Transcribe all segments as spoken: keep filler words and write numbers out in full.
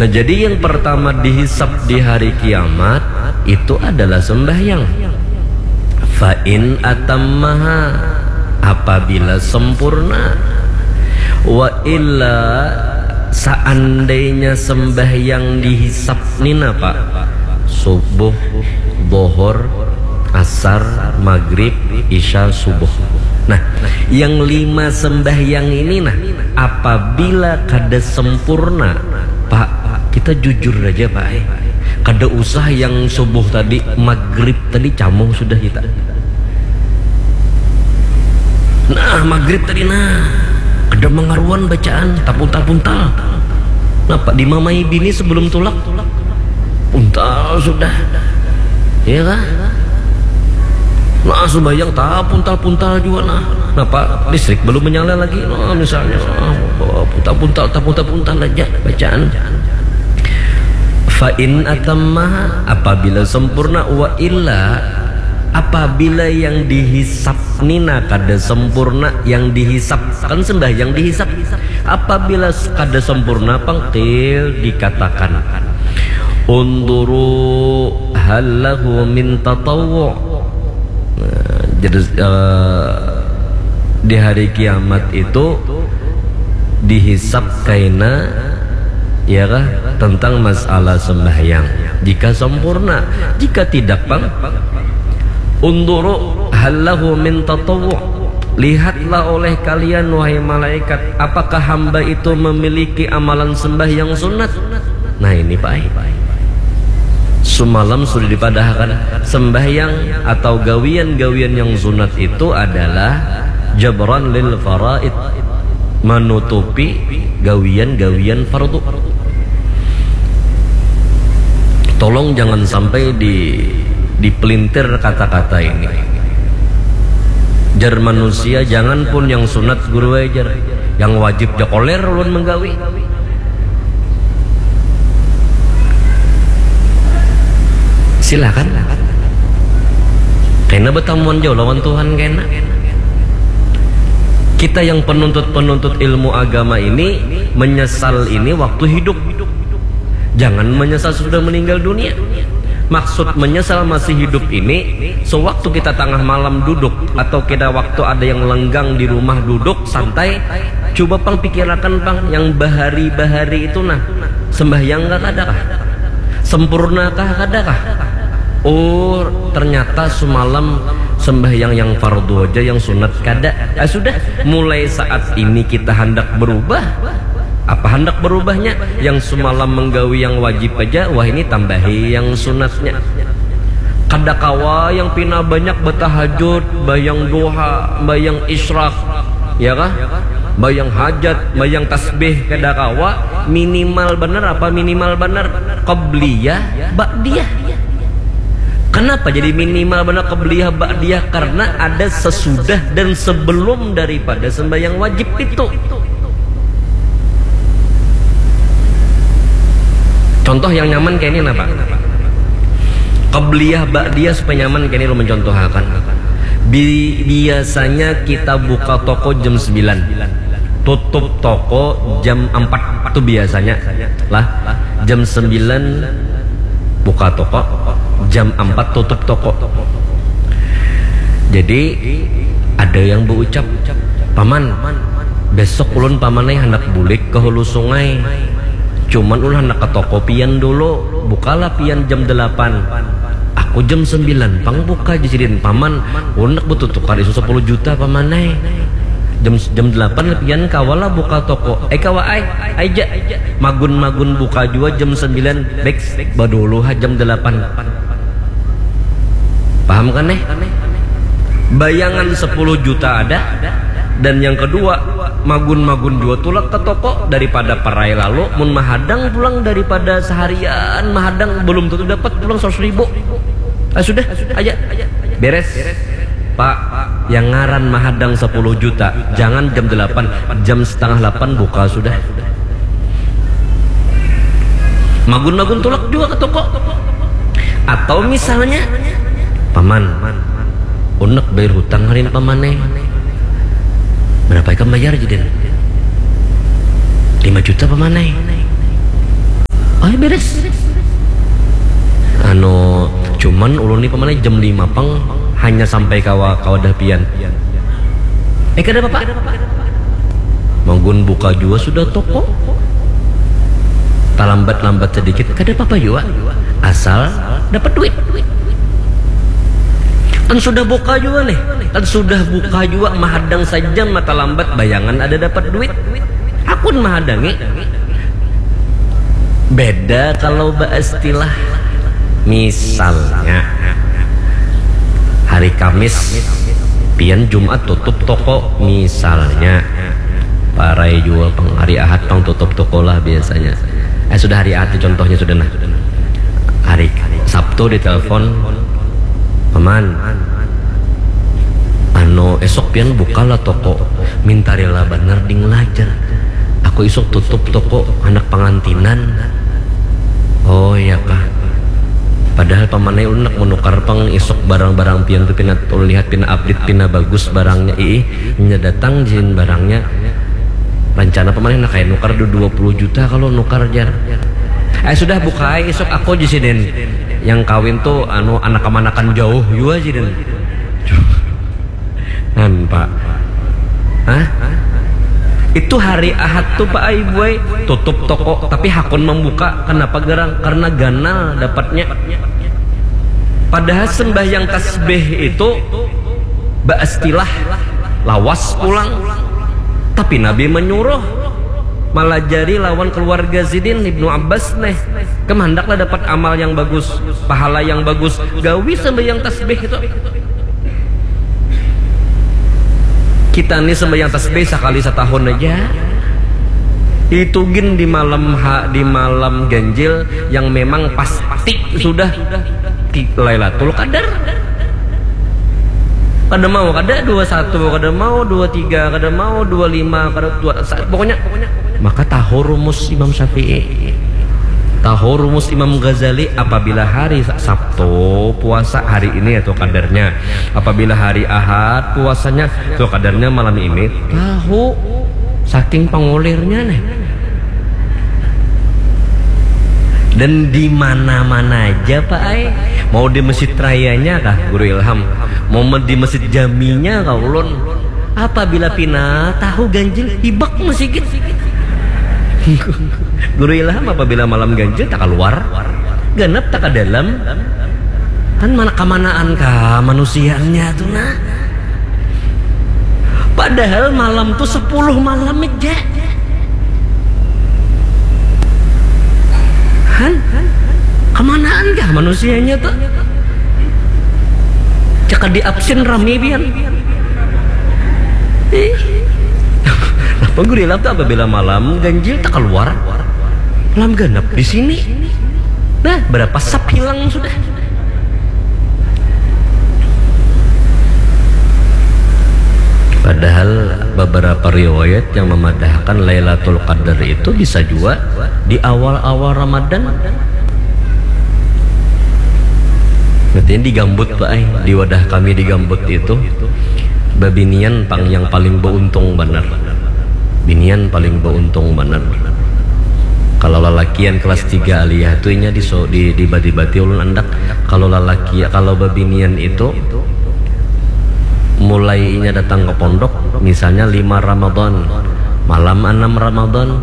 Nah, jadi yang pertama dihisap di hari kiamat itu adalah sembahyang. Fa in atammaha, apabila sempurna. Wa illa, seandainya sembahyang dihisap ni napa? Subuh, bohor, asar, maghrib, isya, subuh. Nah, yang lima sembahyang ini nah, apabila kada sempurna, Pak, kita jujur aja, Pak, eh. Kada usah yang subuh tadi, maghrib tadi camuh sudah kita. Nah, maghrib tadi nah, kada mangaruan bacaan, tapuntal-puntal. Napa dimamai bini sebelum tulak? Puntal sudah. Iya kah? Nah, sembahyang tapuntal-puntal juga nah. Napa listrik belum menyala lagi? Nah, misalnya, ah, puntal-puntal, tapuntal-puntal aja bacaan. Fa in atammaha, apabila sempurna, wa illa, apabila yang dihisap nina kada sempurna, yang dihisap kan sembahyang dihisap. Apabila s-, kada sempurna, pang qil dikatakan, "Unzuru hal lahu min tatawwu." Nah, jadi, eh, di hari kiamat itu dihisap kaina, ya kah, tentang masalah sembahyang. Jika sempurna, jika tidak, pang, "Unzuru hal lahu min tatawwu." Lihatlah oleh kalian, wahai malaikat, apakah hamba itu memiliki amalan sembahyang sunat? Nah, ini, Pak ai. Sumalam sudah dipadahakan, sembahyang atau gawian-gawian yang sunat itu adalah jabran lil faraid, manutupi gawian-gawian fardu. Tolong jangan sampai di, dipelintir kata-kata ini. Jar manusia, jangan pun yang sunat, guru ai, jar. Yang wajib ja koler ulun menggawi. Silakan. Kena betamuan jauh lawan Tuhan, kena. Kita yang penuntut-penuntut ilmu agama ini menyesal ini waktu hidup. Jangan menyesal sudah meninggal dunia. Maksud menyesal masih hidup ini, sewaktu kita tengah malam duduk atau kita waktu ada yang lenggang di rumah duduk santai, coba pang pikirakan pang yang bahari-bahari itu nah, sembahyang kah kada kah? Sempurna kah kada kah? Oh, ternyata sumalam sembahyang yang fardu aja, yang sunat kada. Ah, sudah, mulai saat ini kita hendak berubah. Apa hendak berubahnya? Yang sumalam menggawi yang wajib aja, wah, ini tambahi yang sunatnya. Kada kawa yang pina banyak betahajud, bayang duha, bayang isyraq, ya kah? Bayang hajat, bayang tasbih, kada kawa. Minimal benar apa? Minimal benar qabliyah, ba'diyah. Kenapa jadi minimal benar qabliyah, ba'diyah? Karena ada sesudah dan sebelum daripada sembahyang wajib itu. Contoh yang nyaman kayak ini napa? Qabliyah, ba'diyah supaya nyaman kayak ini lo mencontohakan. Bi-, biasanya kita buka toko jam sembilan. Tutup toko jam empat tuh biasanya. Lah, jam sembilan buka toko, jam empat tutup toko. Jadi ada yang berucap, "Paman, besok ulun paman ai handak bulik ke hulu sungai. Cuman ulun handak ke toko pian dulu. Bukalah pian jam delapan." "Aku jam sembilan pang buka," jar sidin. "Paman, ulun handak betutukar isu sepuluh juta, paman ai. Jam, jam delapan pian kawa lah buka toko." "Eh, kawa ai, ai ja. Magun-magun buka jua jam sembilan, baik, badulu ha jam delapan." Paham kan, eh? Bayangan sepuluh juta ada, dan yang kedua, magun-magun jua tulak ke toko daripada parai lalu, mun mahadang pulang daripada seharian mahadang belum tentu dapat pulang seratus ribu. Ah, sudah, aja. Beres. Pak, yang ngaran mahadang sepuluh juta, jangan jam delapan, jam setengah delapan buka sudah. Magun-magun tulak juga ke toko. Atau misalnya, "Paman, unek bayar hutang hari ini, paman, eh." "Berapa ikam bayar, jidin?" "Lima juta, paman, eh." Beres. Anu, cuman ulun ni pamanai jam lima pang hanya sampai kawa kawadah pian. Eh, kada apa-apa. Magun buka jua sudah toko. Talambat-lambat sedikit, kada apa-apa jua. Asal dapat duit. Kan sudah buka jua nih. Kan sudah buka jua, mahadang saja mata lambat, bayangan ada dapat duit. Hakun mahadangi. Beda kalau baistilah. Misalnya, hari Kamis, pian Jumat tutup toko, misalnya. Parai jua pang, hari Ahad pang tutup toko lah biasanya. Eh, sudah hari Ahad, contohnya sudah nah. Hari Sabtu ditelepon, "Paman, anu, esok pian buka lah toko." "Minta rela banar ding lah," jar. "Aku isuk tutup toko, handak pangantinan." "Oh, iya kah?" Padahal pamanai ulun handak manukar pang isuk barang-barang pian tu, pina ulun lihat pina update, pina bagus barangnya. "Iih, inya datang jin barangnya." Rancana pamanai handak kaya nukar du-, dua puluh juta kalau nukar, jar. "Eh, sudah, buka ai isuk aku," jar sidin. "Yang kawin tu, anu, anak kamanakan jauh jua," sidin. Nampak? Hah? Itu hari Ahad tu, Pak ai, Bu ai, tutup toko, tapi hakun mambuka. Kenapa garang? Karena ganal dapatnya. Padahal sembahyang tasbih itu baistilah lawas pulang. Tapi Nabi menyuruh malajari lawan keluarga sidin, Ibnu Abbas nih. Kam handaklah dapat amal yang bagus, pahala yang bagus, gawi sembahyang tasbih itu. Kita ni sembahyang tasbih sakali satahun aja. Itu gin di malam ha-, di malam ganjil yang memang pasti sudah ki-, Lailatul Qadar. Kada mau, kada dua satu, kada mau dua tiga, kada mau dua lima, kada dua sa-, pokoknya maka tahu rumus Imam Syafi'i. Tahu rumus Imam Ghazali, apabila hari Sa-, Sabtu puasa hari ini atau kadarnya. Apabila hari Ahad puasanya atau kadarnya malam ini. Tahu. Saking pangulirnya nih. Dan di mana-mana aja, Pak ai. Mau di Masjid Rayanya kah, Guru Ilham? Mau me-, di Masjid Jaminya kah ulun? Apabila pina tahu ganjil, hibak masigit. Guru Ilham, apabila malam ganjil tak keluar, ganap tak ke dalam. Kan mana kamanaan kah manusianya tu nah. Padahal malam tu sepuluh malam aja. Han, kamanaan kah manusianya tu? Cakap di absen rame pian. Eh. Napa Guru Ilham tu apabila malam ganjil tak keluar? Malam ganap di sini. Nah, berapa sap hilang sudah. Padahal beberapa riwayat yang memadahkan Lailatul Qadar itu bisa juga di awal-awal Ramadan. Berarti di Gambut, Pak, eh, di wadah kami di Gambut itu, babinian pang yang paling beuntung banar. Binian paling beuntung banar. Kalau lalakian kelas tiga aliyah tu inya diso-, di, dibati-bati ulun andak. Kalau lalaki, kalau babinian itu mulai inya datang ke pondok, misalnya lima Ramadan, malam anam Ramadan,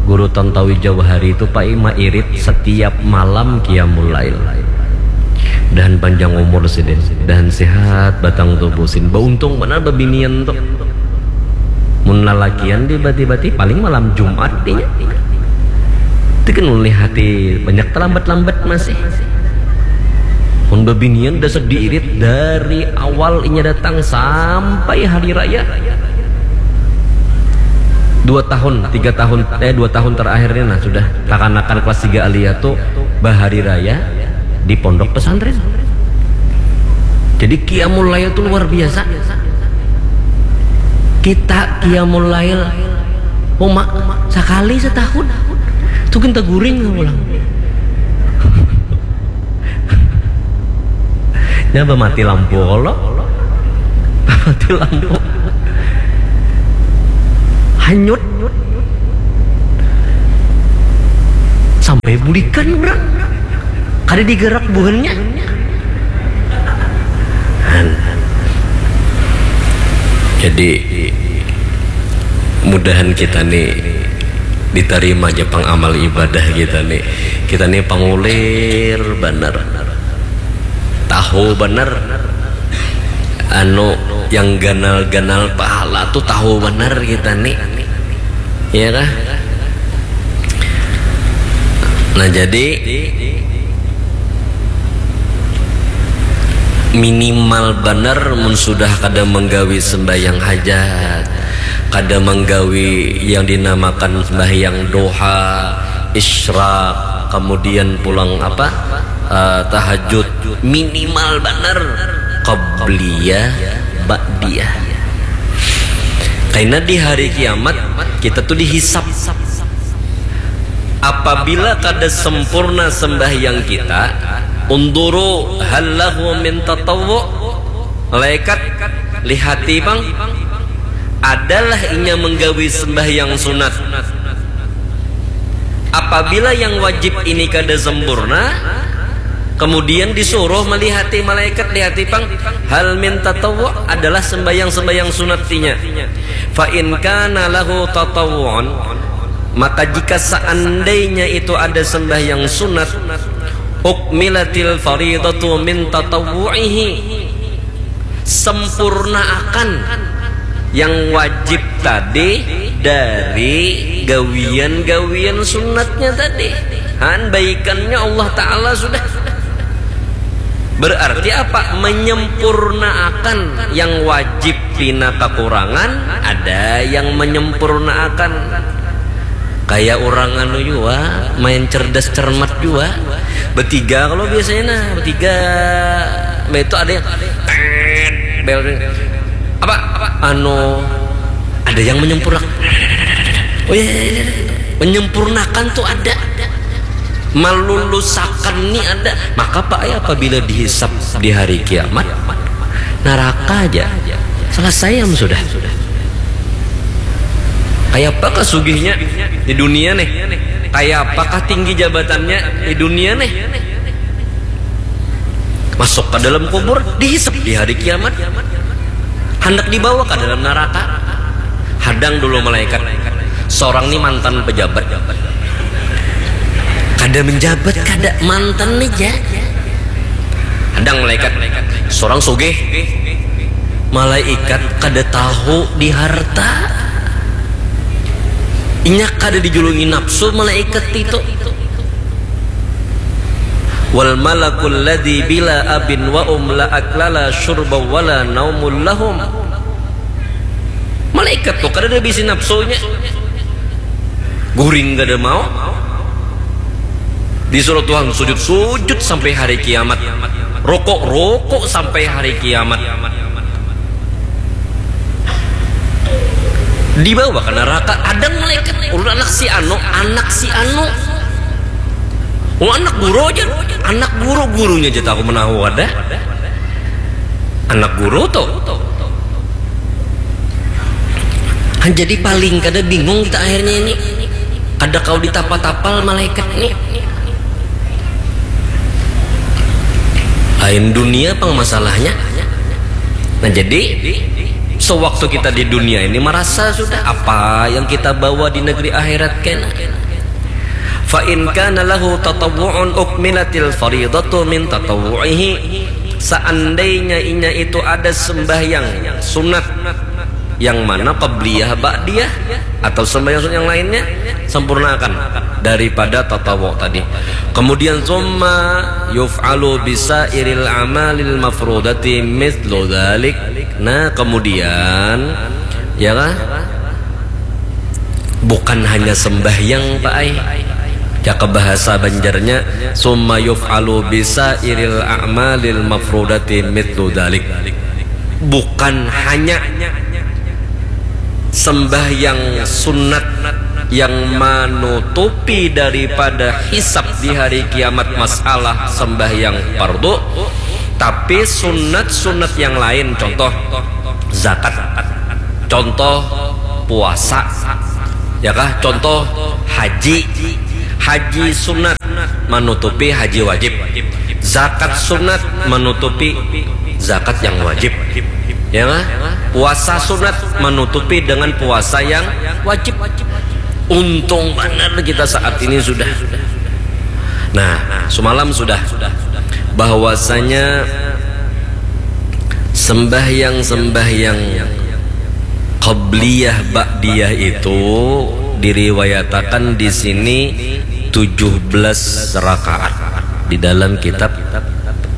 Guru Tantawi Jauhari tu pai mairit setiap malam qiyamul lail. Dahan panjang umur sidin, dahan sehat batang tubuh sidin. Bauntung banar babinian tu. Mun lalakian dibati-bati paling malam Jumat inya. Itu kan ulih hati banyak talambat-lambat masih. Mun babinian dasar diirit dari awal inya datang sampai hari raya. Dua tahun, tiga tahun, eh, dua tahun terakhir ini nah sudah kakanakan kelas tiga aliyah tu bahari raya di pondok pesantren. Jadi qiyamul lail tu luar biasa. Kita qiyamul lail uma sakali setahun. Tu kita guring pulang. Nya bamati lampu kalo. Bamati lampu. Hanyut. sampai bulikan urang. Kada digerak buhannya. Han. Jadi, mudahan kita nih ditarima aja pang amal ibadah kita nih. Kita nih pangulir banar. Tahu banar. Anu, yang ganal-ganal pahala tuh tahu banar kita nih. Iya kah? Nah, jadi minimal banar mun sudah kada menggawi sembahyang hajat, kada menggawi yang dinamakan sembahyang duha, isyraq, kemudian pulang apa, eh, tahajud, minimal banar qabliyah, ba'diyah. Karena di hari kiamat kita tuh dihisap. Apabila kada sempurna sembahyang kita, unduru hal lahu min tatawwu. Malaikat, lihati pang, adalah inya menggawi sembahyang sunat. Apabila yang wajib ini kada sempurna, kemudian disuruh melihati malaikat, lihati pang, hal min tatawwu, adalah sembahyang-sembahyang sunat inya. Fa in kana lahu tatawwu'un, maka jika seandainya itu ada sembahyang sunat, ukmilatil faridatu min tatawwu'ihi, sempurnaakan yang wajib tadi dari gawian-gawian sunatnya tadi. Han, baikannya Allah Ta'ala sudah. Berarti apa? Menyempurnaakan yang wajib pina kakurangan, ada yang menyempurnaakan. Kayak orang anu jua, main cerdas cermat jua. Betiga kalau biasanya, nah, betiga. Nah, itu ada yang tet, bel. Apa? Apa? Anu, ada yang menyempurnakan. Oh iya, iya, iya, iya. Menyempurnakan tuh ada. Malulusakan ni ada. Maka, Pak, ya, apabila dihisap di hari kiamat, naraka aja. Selesai am sudah. Kayak apakah sugihnya di dunia nih? Kayak apakah tinggi jabatannya di dunia nih? Masuk ke dalam kubur, dihisap di hari kiamat. Hendak dibawa ke dalam neraka. Hadang dulu malaikat. Seorang ni mantan pejabat. Kada menjabat, kada, mantan aja. Hadang malaikat. Seorang sugih. Malaikat kada tahu di harta. Inya kada dijulungi nafsu malaikat itu. Wal malakul ladzi bila abin wa um la akla la syurba wa la naumul lahum. Malaikat tuh kada ada bisi nafsunya. Guring kada mau. Disuruh Tuhan sujud, sujud sampai hari kiamat. Rokok, rokok sampai hari kiamat. Dibawa ke neraka, ada malaikat, ulun anak si anu, anak si anu. Oh, anak guru aja, anak guru, gurunya aja tahu menahu ada. Anak guru tuh. Kan jadi paling kada bingung kita akhirnya ini. Kada kau ditapa-tapal malaikat ini. Lain dunia pang masalahnya. Nah, jadi sewaktu kita di dunia ini merasa sudah apa yang kita bawa di negeri akhirat kena. Fa in kana lahu tatawwu'un ukmilatil faridatu min tatawwu'ihi. Seandainya inya itu ada sembahyang sunat yang mana qabliyah, ba'diyah, atau sembahyang sunat yang lainnya, sempurnakan daripada tatawwu tadi. Kemudian summa yuf'alu bisairil amalil mafrudati mithlu dzalik. Nah, kemudian, ya kah? Bukan hanya sembahyang, Pak ai. Ya, ke bahasa Banjarnya, summa yuf'alu bisairil a'malil mafrudati mithlu dzalik. Bukan hanya sembahyang sunat yang menutupi daripada hisab di hari kiamat masalah sembahyang fardu, tapi sunat-sunat yang lain, contoh zakat, contoh puasa, ya kah? Contoh haji. Haji sunat manutupi haji wajib. Zakat sunat manutupi zakat yang wajib. Ya, puasa sunat manutupi dengan puasa yang wajib. Untung benar kita saat ini sudah. Nah, semalam sudah bahwasanya sembahyang-sembahyang qabliyah ba'diyah itu diriwayatakan di sini tujuh belas rakaat di dalam kitab,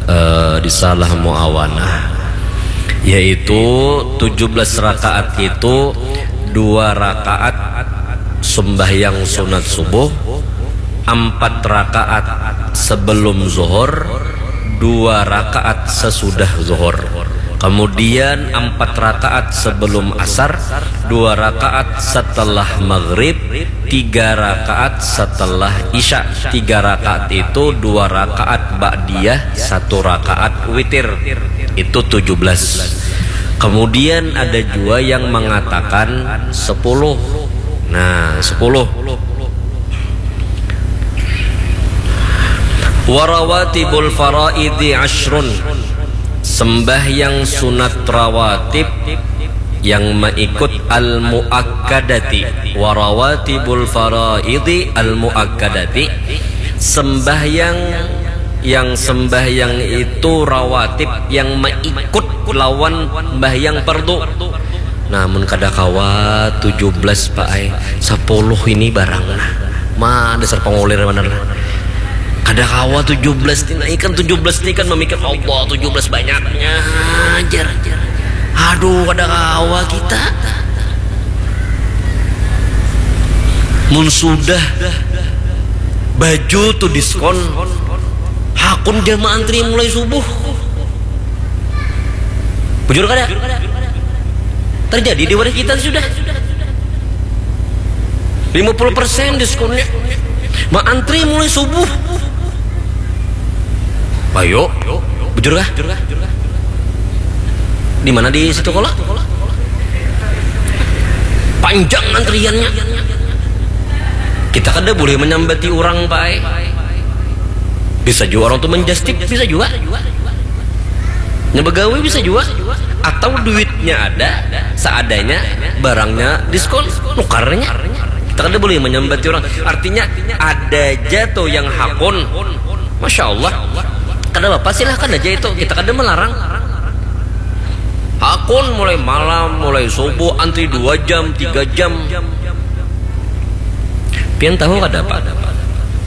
eh, Risalah Muawanah, yaitu tujuh belas rakaat itu dua rakaat sembahyang sunat subuh, empat rakaat sebelum zuhur, dua rakaat sesudah zuhur. Kemudian empat rakaat sebelum asar, dua rakaat setelah maghrib, tiga rakaat setelah isya. Tiga rakaat itu dua rakaat ba'diyah, satu rakaat witir. Itu tujuh belas. Kemudian ada juga yang mengatakan sepuluh. Nah, sepuluh. Warawatibul faraidi asyrun. Sembahyang sunat rawatib yang mengikut al-muakkadati. Warawatibul faraidi al-muakkadati. Sembahyang yang sembahyang itu rawatib yang mengikut lawan sembahyang fardu. Namun kada kawa tujuh belas, Pak ai. Sepuluh ini barang nah. Ma, dasar pangulir benar nah. Kada kawa tujuh belas ni, nah, ikan tujuh belas ni kan memikir, "Allah, tujuh belas banyaknya, jar." Aduh, kada kawa kita. Mun sudah baju tu diskon, hakun jamaah antri mulai subuh. Bujur kada? Terjadi di wadah kita sudah. Lima puluh persen diskonnya. Maantri mulai subuh. Ayo, bujur kah? Di mana, di situ kala? Panjang antriannya. Kita kada boleh menyambati orang, Pak ai. Bisa juga orang tu menjastip, bisa juga. Nya begawi bisa juga. Atau duitnya ada, seadanya, barangnya diskon, nukarnya. Kita kada boleh menyambati orang. Artinya, ada aja tuh yang hakun. Masya Allah. Kada apa-apa, silahkan aja itu. Kita kada melarang. Hakun mulai malam, mulai subuh, antri dua jam, tiga jam. Pian tahu kada, Pak?